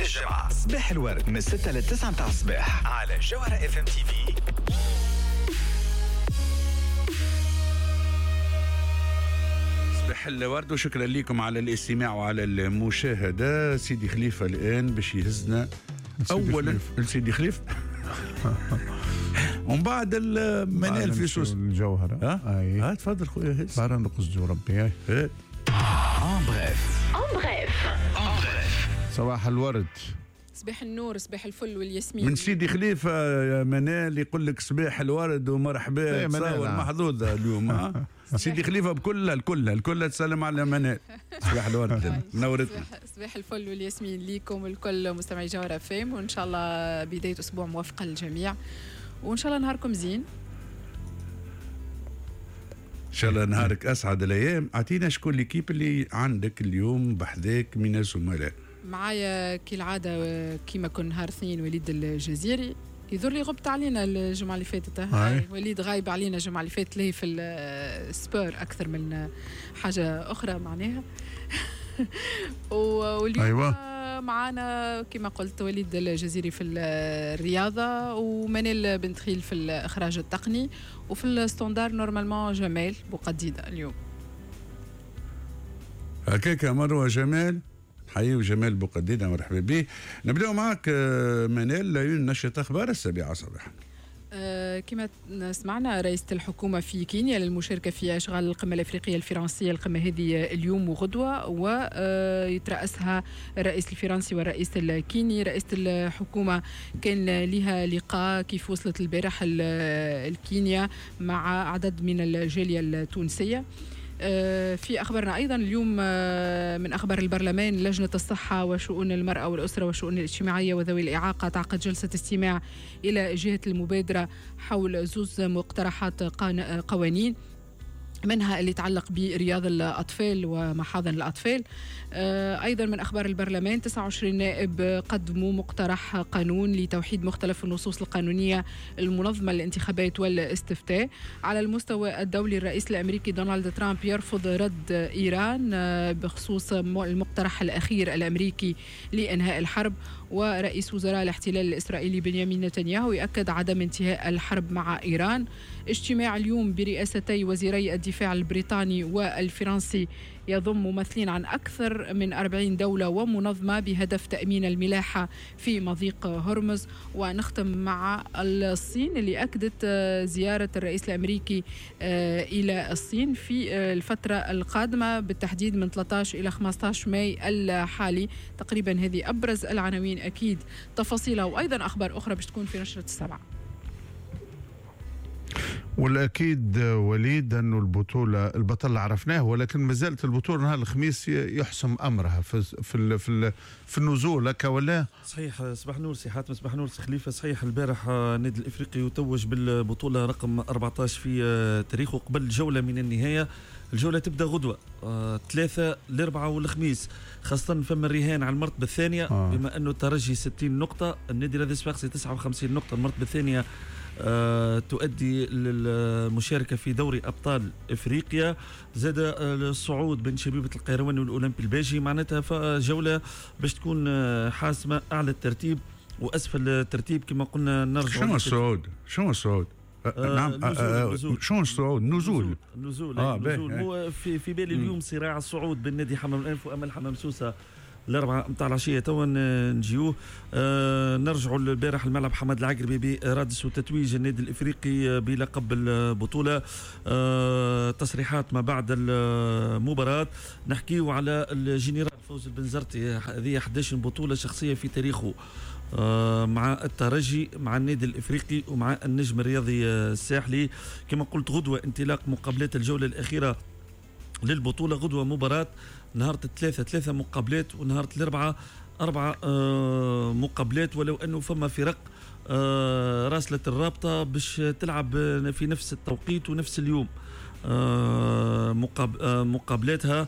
للجمعة صباح الورد من 6 ل 9 متاع الصباح على جوهرة FM TV. صباح الورد وشكرا لكم على الاستماع وعلى المشاهدة. سيدي خليفة الآن باش يهزنا أولا لسيدي خليفة ومن بعد المنال في سوس الجوهرة. ها تفضل خويا هز. بارا نقصدو ربي. En bref. En bref. En bref. صباح الورد. صباح النور، صباح الفل والياسمين. من سيدي خليفة يا منال يقول لك صباح الورد ومرحبا. تصور محظوظة اليوم. سيدي خليفة بكلها الكلها الكلها تسلم على منال. صباح الورد، نورتنا. صباح الفل والياسمين ليكم الكل مستمعي جوهرة FM، وإن شاء الله بداية أسبوع موفقة للجميع، وإن شاء الله نهاركم زين. إن شاء الله نهارك أسعد الأيام. أعطينا شكون l'équipe اللي عندك اليوم بحذاك من الزملاء؟ معايا كالعادة كيما كل نهار اثنين وليد الجزيري. يظهر لي غبت علينا الجمعة اللي فاتت. وليد غايب علينا الجمعة اللي فاتت، ليه في ال sport أكثر من حاجة أخرى معناها. واليوم أيوة. معانا كما قلت وليد الجزيري في الرياضة، ومنال بنت خيل في الإخراج التقني، وفي ال standard normalement جمال بوقديدة اليوم. هكاك مروة جمال، حيو جمال بوقديدة، مرحبا به. نبدأ معك منال لعيون نشرة أخبار 7 صباحا. كما سمعنا رئيسة الحكومة في كينيا للمشاركة في أشغال القمة الأفريقية الفرنسية، القمة هذه اليوم وغدوة، ويترأسها الرئيس الفرنسي والرئيس الكيني. رئيسة الحكومة كان لها لقاء كيف وصلت البارح الكينيا مع عدد من الجالية التونسية. في أخبارنا أيضا اليوم من أخبار البرلمان، لجنة الصحة وشؤون المرأة والأسرة والشؤون الاجتماعية وذوي الإعاقة تعقد جلسة استماع إلى جهة المبادرة حول زوز مقترحات قوانين، منها اللي يتعلق برياض الأطفال ومحاضن الأطفال. أيضا من أخبار البرلمان 29 نائب قدموا مقترح قانون لتوحيد مختلف النصوص القانونية المنظمة للانتخابات والاستفتاء. على المستوى الدولي، الرئيس الأمريكي دونالد ترامب يرفض رد إيران بخصوص المقترح الأخير الأمريكي لإنهاء الحرب. ورئيس وزراء الاحتلال الإسرائيلي بنيامين نتنياهو يؤكد عدم انتهاء الحرب مع إيران. اجتماع اليوم برئاستي وزيري الدفاع البريطاني والفرنسي يضم ممثلين عن أكثر من 40 دولة ومنظمة بهدف تأمين الملاحة في مضيق هرمز. ونختم مع الصين اللي أكدت زيارة الرئيس الأمريكي إلى الصين في الفترة القادمة، بالتحديد من 13 إلى 15 ماي الحالي تقريبا. هذه أبرز العناوين، أكيد تفاصيلها وأيضا أخبار أخرى باش تكون في نشرة 7. والأكيد وليد أنه البطولة البطل عرفناه، ولكن ما زالت البطولة نهار الخميس يحسم أمرها في في في, في النزول هكا ولا؟ صحيح. صباح نور سي حاتم، صباح نور سي خليفة. صحيح البارح النادي الإفريقي يتوج بالبطولة رقم 14 في تاريخه قبل جولة من النهاية. الجولة تبدأ غدوة 3 الأربعاء والخميس، خاصة فما الرهان على المرتبة الثانية. بما أنه الترجي 60 نقطة، النادي الرياضي الصفاقسي 59 نقطة، المرتبة الثانية تؤدي للمشاركة في دوري أبطال إفريقيا. زاد الصعود بين شبيبة القيروان والأولمبي الباجي، معناتها جولة باش تكون حاسمة، أعلى الترتيب وأسفل الترتيب كما قلنا. نرجع شنو الصعود؟ شنو الصعود؟ نعم، شنو الصعود؟ نزول. نزول. نزول. هو في بالي اليوم صراع الصعود بين نادي حمام الأنف وأمل حمام سوسة الأربعة متاع العشية توا نجيوه. نرجعوا البارح الملعب حماد العقربي برادس وتتويج النادي الإفريقي بلقب البطولة. تصريحات ما بعد المباراة، نحكيو على الجنرال فوز البنزرتي، هذه 11 بطولة شخصية في تاريخه مع الترجي، مع النادي الإفريقي، ومع النجم الرياضي الساحلي. كما قلت غدوة انطلاق مقابلات الجولة الأخيرة للبطولة. غدوة مباراة نهار الثلاثة 3 مقابلات، ونهار الأربعاء 4 مقابلات، ولو أنه فما فرق راسلة الرابطة باش تلعب في نفس التوقيت ونفس اليوم مقابلاتها.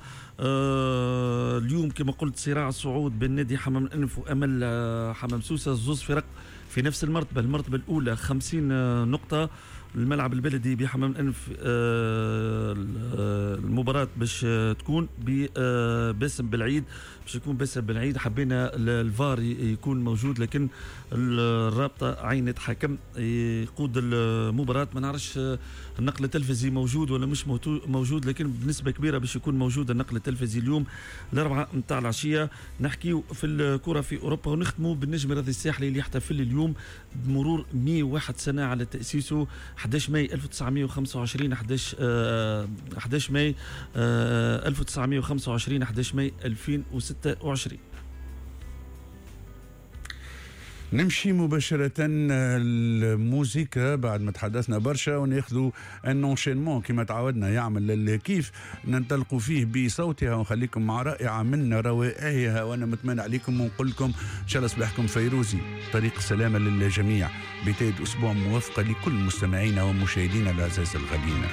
اليوم كما قلت صراع الصعود بين نادي حمام الأنف وأمل حمام سوسة، زوز فرق في نفس المرتبة، المرتبة الأولى 50 نقطة، الملعب البلدي بحمام الانف. المباراة باش تكون باسم بالعيد، باش يكون باسم بالعيد. حبينا الفار يكون موجود، لكن الرابطة عينت حكم يقود المباراة. ما نعرفش النقل التلفزي موجود ولا مش موجود، لكن بنسبة كبيرة باش يكون موجود النقل التلفزي اليوم 4 متاع العشية. نحكيو في الكرة في أوروبا ونختموا بالنجم الرياضي الساحلي اللي يحتفل اليوم بمرور 101 سنة على تأسيسه، 11 ماي 1925، 11 ماي 1925، 11 ماي 2026. نمشي مباشرة الموسيقى بعد ما تحدثنا برشا، وناخذوا un enchaînement كما تعودنا يعمل الكيف، ننطلقوا فيه بصوتها ونخليكم مع رائعة من روائعها. وانا متمنى عليكم ونقول لكم ان شاء الله صباحكم فيروزي، طريق السلامة للجميع، بداية اسبوع موفقة لكل مستمعينا ومشاهدينا الاعزاء الغاليين.